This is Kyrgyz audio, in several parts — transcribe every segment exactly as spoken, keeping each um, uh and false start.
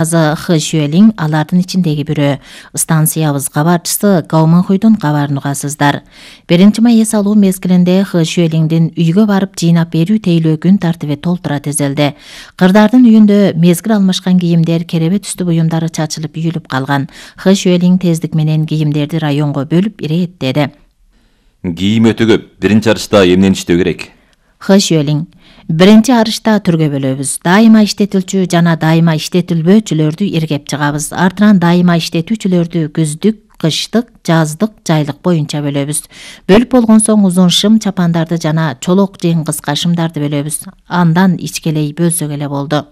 Хы Шүэлиң алардын ичиндеги бирөө. Станциябыз кабарчысы Гау Мэнхуйдун кабарын угасыздар. биринчи май эс алуу мезгилинде Хы Шүэлиңдин үйгө барып жыйнап берүү тейлөө күн тартиби толтура тизилди. Кырдардын үйүндө мезгил алмашкан кийимдер, керебе түстүү буюмдары чачылып үйүлүп калган. Хы Шүэлиң тездик менен кийимдерди районго бөлүп ирээттеди. Кийим өтө көп. Биринчи арышта эмнени иштөө керек? Хы Шүэлиң: биринчи арышта түргө бөлөбүз. Дайыма иштетилчү жана дайыма иштетилбөөчүлөрдү иргеп чыгабыз. Артынан дайыма иштетүүчүлөрдү күздүк, кыштык, жаздык, жайлык боюнча бөлөбүз. Бөлүп болгон соң узун шым чапандарды жана чолок жең кыска шымдарды бөлөбүз. Андан ичкелей бөлсөк эле болду.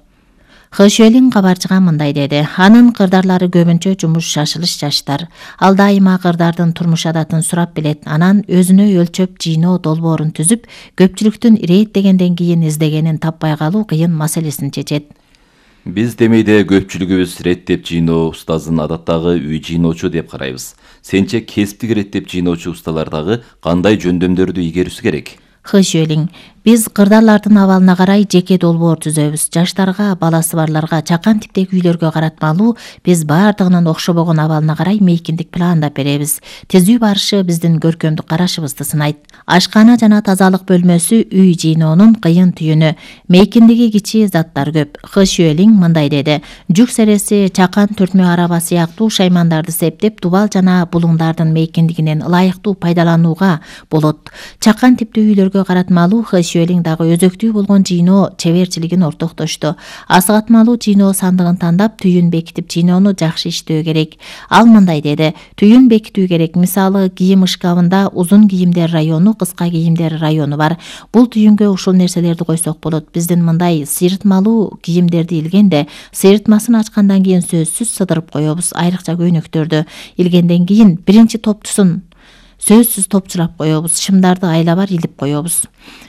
Хы Шүэлиң кабарчыга мындай деди. Анын кырдарлары көбүнчө жумуш шашылыш жаштар. Ал дайыма кырдардын турмуш адатын сурап билет. Анан өзүнө өлчөп жыйноо долбоорун түзүп, көпчүлүктүн ирээттегенден кийин издегенин таппай калуу кыйын маселесин чечет. Биз Демейде көпчүлүгүбүз реттеп жыйноо устазын адаттагы үй жыйноочу деп карайбыз. Сенче кесиптик реттеп жыйноочу усталар дагы кандай жөндөмдөрдү игерүүсү керек? Хы Шүэлиң: биз кырдарлардын абалына карай жеке долбоор түзөбүз. Жаштарга, баласы барларга, чакан типтеги үйлөргө каратмалуу биз баардыгынын окшобогон абалына карай мейкиндик пландап беребиз. Тизүү барышы биздин көркөмдүк карашыбызды сынайт. Ашкана жана тазалык бөлмөсү үй жыйноонун кыйын түйүнү. Мейкиндиги кичи заттар көп. Хы Шүэлиң мындай деди. Жүк сереси, чакан түртмө араба сыяктуу шаймандарды септеп, дубал жана булуңдардын мейкиндигинен ылайыктуу пайдаланууга болот. Чакан типтүү үйлөргө каратмалуу Хы Шүэлиң дагы өзөктүү болгон жыйноо чеберчилигин ортоктошту. Асыгатмалуу жыйноо сандыгын тандап, түйүн бекитип жыйноону жакшы иштөө керек. Ал мындай деди. Түйүн бекитүү керек. Мисалы, кийим шкафында узун кийимдер району, кыска кийимдер району бар. Бул түйүнгө ушул нерселерди койсок болот. Биздин мындай сыйрытмалуу кийимдерди илгенде, сыйрытмасын ачкандан кийин сөзсүз сыдырып коебуз. Айрыкча көйнөктөрдү илгенден кийин биринчи топтусун сөзсүз топчурап коебуз. Шымдарды айлабар илип коебуз.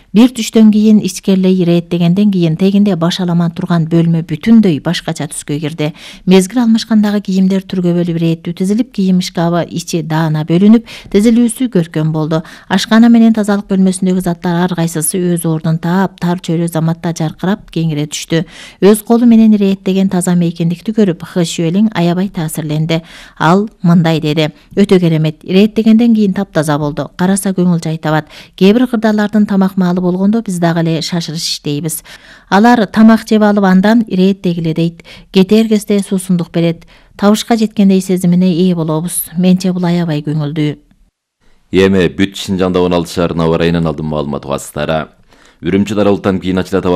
Бир түштөн кийин ичкерилей ирээттегенден кийин тегинде баш аламан турган бөлмө бүтүндөй башкача түскө кирди. Мезгил алмашкандагы кийимдер түргө бөлүп ирээттүү тизилип, кийим шкафы ичи даана бөлүнүп, тизилүүсү көркөм болду. Ашкана менен тазалык бөлмөсүндөгү заттар ар кайсысы өз ордун таап, тар чөйрө заматта жаркырап кеңире түштү. Өз колу менен ирээттеген таза мейкиндикти көрүп, Хы Шүэлиң аябай таасирленди. Ал мындай деди. Өтө керемет. Ирээттегенден кийин таптаза болду. Караса көңүл жай табат. Кээ бир кырдарлардын тамак маалы болгондо биз дагы эле шашырыш иштейбиз. Алар тамак жеп алып андан ирээттегиле дейт. Кетер кезде суусундук берет. Табышка жеткендей сезимине ээ болобуз. Менче бул аябай көңүлдүү. Эми бүт Шинжаңда он алты шаарына абар айынан алдым маалымат угасыздар. Үрүмчү дарылыктан кийин ачыла табан